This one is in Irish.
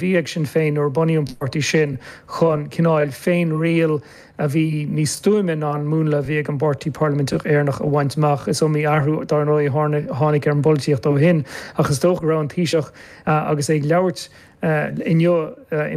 Bhí ag Sinn Féin nuair a bunaíodh an páirtí sin chun cineál féinriail a bhí níos stuaime ná an múnla a bhí ag an bPáirtí Parlaiminteach Éireannach a bhaint amach. Is iomaí athrú, dar ndóigh, a tháinig ar an bpolaitíocht ó shin ach is dócha go raibh an Taoiseach agus é ag labhairt inniu i.